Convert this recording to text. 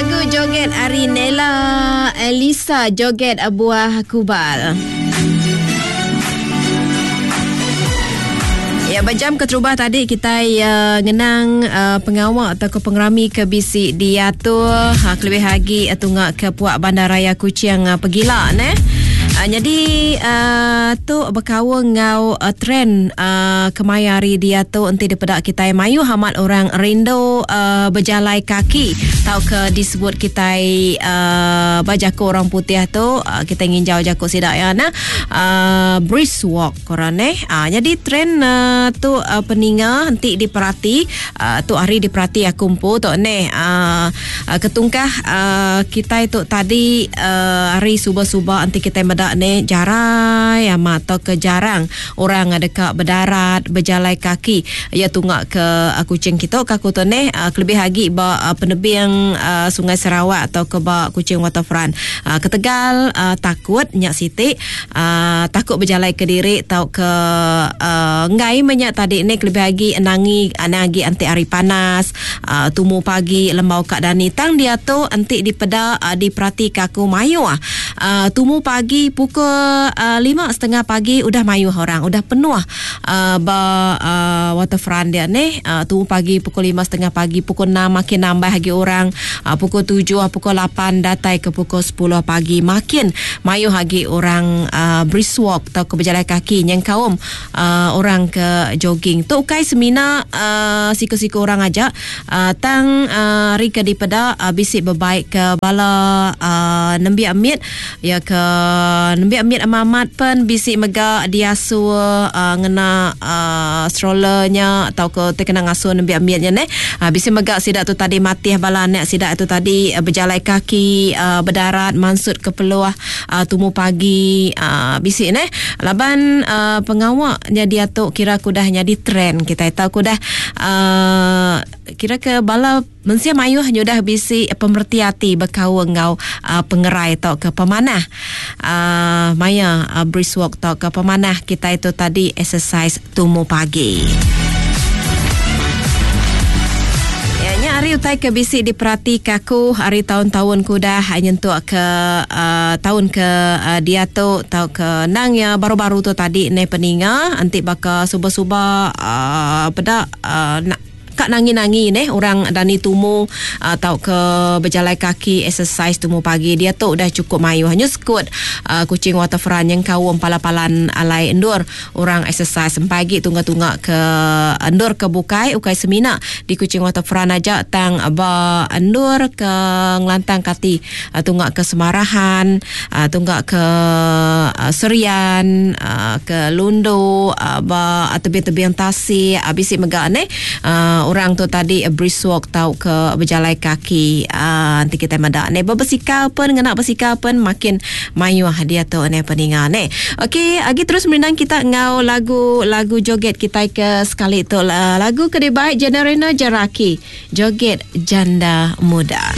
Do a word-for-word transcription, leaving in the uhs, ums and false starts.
Lagu joget ari Nella Elisa, joget buah kubal. Ya, berjam keterubah tadi kita uh, ngenang uh, pengawak atau ke pengerami ke bisi diatur ha, kelebih lagi uh, tunggak ke puak Bandaraya Kuching uh, pegila ne. Uh, jadi uh, tu berkawan ngau uh, trend uh, kemaya hari dia tu enti daripada kita mayu hamat orang rindu uh, berjalai kaki tau ke disebut kita uh, bajako orang putih tu uh, kita nginjau jako sidak ya nah uh, brisk walk korang eh. Uh, jadi trend uh, tu uh, peninga henti diperhati uh, tu hari diperhati aku empu tu neh uh, uh, ketungkah uh, kita itu tadi uh, hari suba-suba henti kita medak ne jarai amat atau ke jarang orang ada dekat berdarat berjalai kaki ya tunggak ke uh, Kuching kita kaku tu neh uh, kelebih lagi ba uh, penebing uh, Sungai Sarawak atau ke ba Kuching Waterfront uh, ketegal uh, takut nyak sitik uh, takut berjalai ke diri atau ke uh, ngai banyak tadi ni kelebih lagi nangi anagi anti hari panas uh, tumu pagi lembau kak dani tang dia tu anti dipeda uh, diperhati kaku mayu ah uh, tumu pagi pukul uh, lima setengah pagi udah mayu orang udah penuh uh, ba uh, waterfront dia ni uh, tumu pagi pukul lima setengah pagi pukul enam makin nambah lagi orang uh, pukul tujuh pukul lapan datai ke pukul sepuluh pagi makin mayu lagi orang uh, brisk walk atau ke berjalan kaki yang kaum uh, orang ke jogging tu ukai semina uh, siku-siku orang aja uh, tang uh, rika dipeda uh, bisik berbaik ke bala uh, nembiak amit ya ke nembiak amit amamat pen bisik mega diasu uh, ngena uh, strollernya atau ke terkena ngasuh nembiak amitnya ne uh, bisik mega sidak tu tadi matih bala anak sidak tu tadi uh, berjalai kaki uh, berdarat mansut ke peluah uh, tumu pagi uh, bisik ne laban uh, pengawaknya dia tu kira kudah jadi trend kita tahu kudah uh, kira ke bala mensia mayuh nyudah bisi pemerti hati berkau ngau uh, pengerai atau ke pemanah uh, maya uh, brisk walk atau ke pemanah kita itu tadi exercise tumu pagi. Hari utai ke bisi diperhati kaku hari tahun-tahun kudah nyentuk ke uh, tahun ke uh, dia tu tau ke nang ya baru-baru tu tadi ne peninga anti baka suba-suba uh, peda uh, nak kak nangi-nangi neh orang dani tumu atau uh, ke berjalan kaki exercise tumu pagi dia tu dah cukup mayu hanya sekut uh, Kuching Waterfront yang kaum pala-palan alai endur orang exercise pagi tungga-tungga ke endur ke bukai ukai semina di Kuching Waterfront aja tang ba endur ke ngelantang kati uh, tunggak ke Semarahan uh, tunggak ke uh, Serian uh, ke Lundu uh, ba tebing-tebing tasik uh, bisik megak neh uh, orang tu tadi uh, brisk walk tau ke berjalan kaki uh, nanti kita medak ni berbasikal pun ngena basikal pun makin mayu dia tu ni peninga ni. Okey, lagi terus merindang kita ngau lagu-lagu joget kita ke sekali tu lagu ke baik Generina Jeraki joget janda muda.